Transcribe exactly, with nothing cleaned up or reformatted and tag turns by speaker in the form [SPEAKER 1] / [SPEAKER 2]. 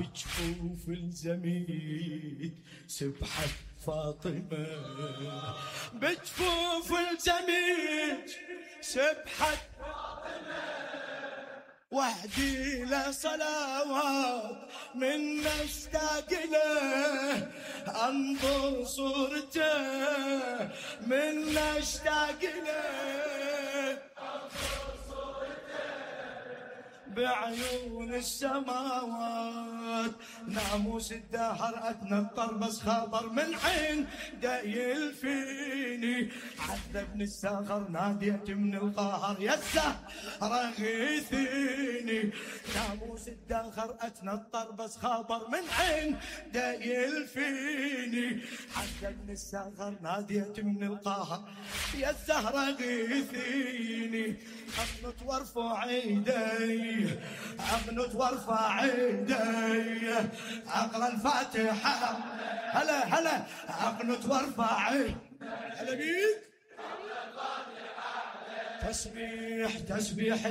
[SPEAKER 1] بجفوف الزميد سبحت فاطمة، بجفوف الزميد سبحت فاطمة، وحدي له صلوات من اشتاق له، انظر صورته من اشتاق له، انظر صورته بعيون السماوات، ناموس الدهر اتنطر بس خاطر من عين دايل فيني، عذبني الساغر ناديت من القهر يا الزهرة غيثيني، ناموس الدهر اتنطر بس خاطر من عين دايل فيني، عذبني الساغر ناديت من القهر يا الزهرة غيثيني، اقنط وارفع ايدي اقنط وارفع ايدي اقرا الفاتحة، هلا هلا اقنط وارفع ايدي، هلا بيك تسبيح تسبيح